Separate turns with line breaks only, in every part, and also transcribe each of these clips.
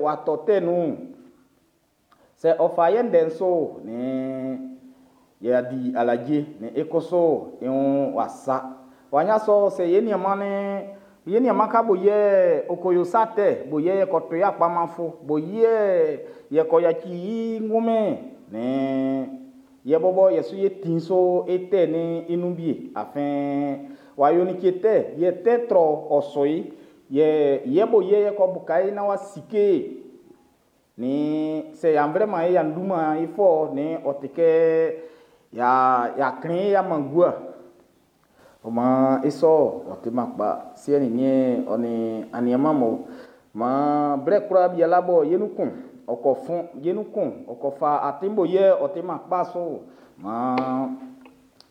w'a tɔ tɛ nun'n, sɛ ɔ fa ye ndɛ'n su'n, nn y'a di alaje, nn e kusu e wun w'a sa. W'a ɲan sɔ sɛ ye nianman ye nianman ka bo yɛ ɔ ko yo sa tɛ bo yɛ ye ko tu i akpama fɔ, bo yɛ ye ko yaci i ngunmin'n, nn ye bɔbɔ ye su ye tin so e tɛ'n i nun wie. Afin w'a yo like tɛ, yɛ tɛ trɔ ɔ su i. Yɛ ye bo yɛ ye ko uka i naan w'a sike, nn sɛ y'a flɛman i y'a tuman i fɔ'n, nn ɔ ti kɛ y'a klɛn i y'a man gua. Ɔ maan i sɔ'n, ɔ timan kpa. Siɛ nin niɛn, ɔ nin aniaman mun, maan blɛ kwlaa biala bɔ ye nun kun ɔ ko fɔn, ye nun kun ɔ ko fa atin bo yɛ ɔ timan kpa su'n, maan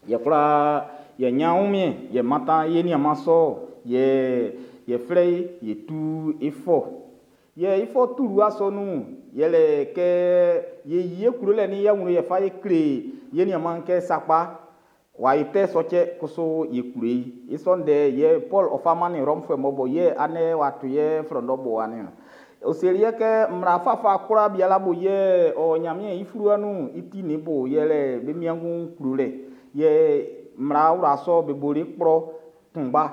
ye kwlaa ye ɲan wunmiɛn ye mantan ye nianman sɔ'n, yɛ ye flɛ i ye tu i fɔ. Yɛ i fɔ tulɛ sɔ'n nun'n, yɛle kɛ ye yi ye klolɛ nin ye awlɛn ye fa ye kle ye nianman'n kɛ sakpa w'a yo tɛ sɔ cɛ, kusu ye klo i. I sɔ ndɛ yɛ Pɔlu ɔ fa mannin Rɔmufuɛ mun bɔ yɛ andɛ w'a to ye flɔndɔ bowa niɔn. Ɔ seli ye kɛ mmla fafa kwlaa biala bo yɛ ɔ o Ɲanmiɛn i fluwa nun'n, i ti nin i bo yɛle be wiengu klolɛ. Yɛ mmla wla sɔ'n be boli i kplɔ kunngba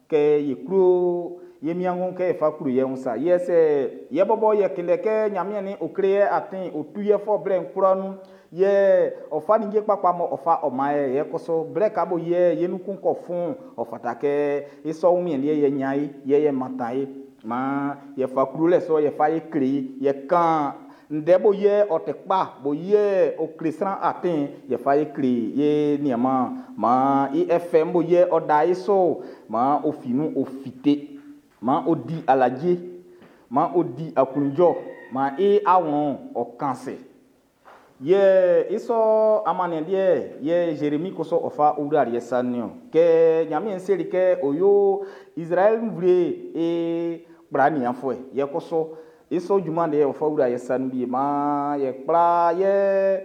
kɛ ye klo ye wiengu kɛ e fa klo ye wun sa. Yɛ sɛ ye bɔbɔ ye kunndɛ kɛ Ɲanmiɛn ɔ kle ye atin, ɔ tu ye fɔ blɛ kwlaa nun, yɛ ɔ fa ninnge kpakpa m'ɔ fa ɔ man e'n, yɛ kusu blɛ ka bo yɛ ye nun kun ko fɔn'n, ɔ fata kɛ i sɔ wunmiɛn liɛ'n ye ɲan e, yɛ ye mantan e. Maan ye fa klolɛ sɔ'n ye fa ye kle i, ye kan ndɛ bo yɛ ɔ ti kpa, bo yɛ ɔ kle sran atin'n, ye fa ye kle ye nianman'n. Maan i efɛ'n bo yɛ ɔ da e su'n, maan ɔ fin nun ɔ fite. Maan ɔ di alaje, maan ɔ di aklunjuɛ, maan i awlɛn'n ɔ kan ase. Yɛ i sɔ amanniɛn liɛ'n, yɛ Zeremi kusu ɔ fa wlali ye sa nun niɔn. Kɛ Ɲanmiɛn seli kɛ ɔ yo Izraɛli nvle'n i kpla nianfuɛ, yɛ kusu i sɔ junman liɛ'n ɔ fa wla ye sa nun wie. Maan ye kpla ye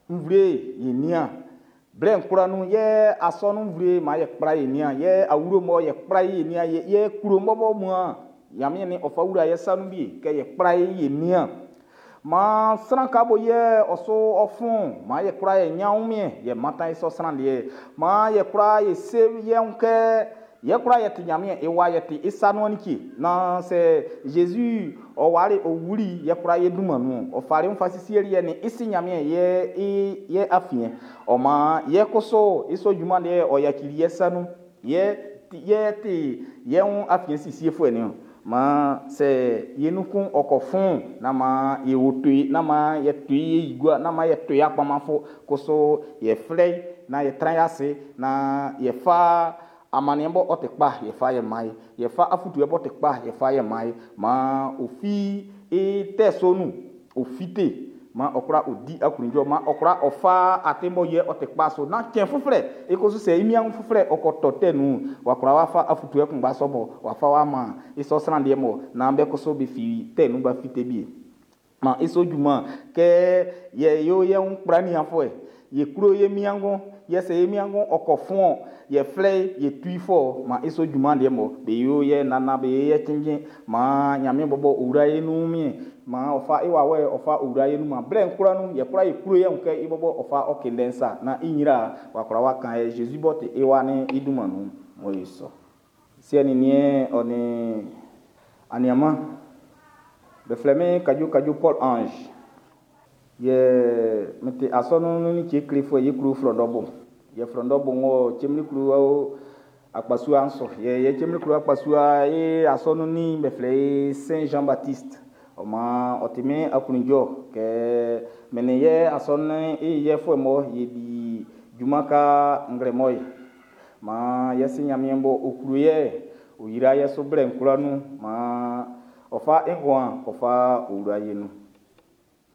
nvle'n ye nian. Blɛ kwlaa nun, ye asɔnun nvle'n maan ye kpla ye nian, ye awlo mɔ ye kpla ye nian, ye klɔ bɔbɔ mun Ɲanmiɛn ɔ fa wla ye sa nun wie kɛ ye kpla ye nian. Maan sran ka bo yɛ ɔ su ɔ fɔn'n, maan ye kwlaa ye ɲan wunmiɛn ye mantan i sɔ sran liɛ'n. Maan ye kwlaa ye se ye wun kɛ ye kwlaa ye ti Ɲanmiɛn i wa, ye ti i sa nuan like. Naan sɛ Zezi ɔ wali ɔ wuli ye kwlaa ye dunman nun'n, ɔ fali wun fa sisieli ye nin i Si Ɲanmiɛn ye ye afiɛn. Ɔ maan ye kusu i sɔ junman liɛ'n ɔ yacili ye sa nun. Ye ti ye wun afiɛn sisiefuɛ'n niɔn. Maan sɛ ye nun kun ɔ ko fɔn'n, nán maan e woto i, nán maan e to i e yi gua, nán maan e tu i akpama fɔ. Kusu ye flɛ i naan ye tran ase naan ye fa amanniɛn b'ɔ ti kpa'n ye fa ye man i. Ye fa afutuo b'ɔ ti kpa'n ye fa ye man i. Maan ɔ fin i tɛ sɔ'n nun ɔ fite. Maan ɔ kwla ɔ di aklunjuɛ. Maan ɔ kwla ɔ fa atin b'ɔ yɛ ɔ ti kpa su. Naan cɛn fuflɛ, i kusu sɛ i niaan fuflɛ ɔ ko tɔ tɛ nun'n, w'a kwla w'a fa afutuo kunngba sɔ mɔ w'a fa w'a man i sɔ sran liɛ mɔ naan be kusu be fi tɛ nun b'a fite wie. Maan i sɔ junman kɛ ye yo ye wun kpla nianfuɛ, ye klo ye wiengu, yɛ sɛ ye wiengu ɔ ko fɔn'n, ye flɛ i ye tu i fɔ, maan i sɔ junman liɛ mɔ be yo ye nannan be yo ye cinnjin. Maan Ɲanmiɛn bɔbɔ ɔ wla ye nun wunmiɛn. Maan ɔ fa i wawɛ'n ɔ fa wla ye nun. Maan blɛ kwlaa nun, ye kwlaa ye klo ye wun kɛ i bɔbɔ ɔ fa ɔ kindɛ'n sa. Naan i nyrɛ'n w'a kwla w'a kan e Zezi b'ɔ ti i Wa'n i dunman nun. Ɔ yo sɔ. Siɛ nin niɛn ɔ nin aniaman, be flɛ min Kadjo Kadjo Paul Ange. Yɛ n ti asɔnun'n nun like klefuɛ ye klo Flɔndɔbo. Yɛ Flɔndɔbo ng'ɔ Cemili klo akpasua'n su. Yɛ ye Cemili klo akpasua i asɔnun'n ni be flɛ i Saint Jean Baptiste. Ɔ maan ɔ ti min aklunjuɛ kɛ min nin ye asɔnun'n i yɛfuɛ mɔ ye di junman ka nglɛmɔ ye. Maan ye si Ɲanmiɛn bɔ ɔ klo ye, ɔ yra ye su blɛ kwlaa nun. Maan ɔ fa i nguan ɔ fa wla ye nun.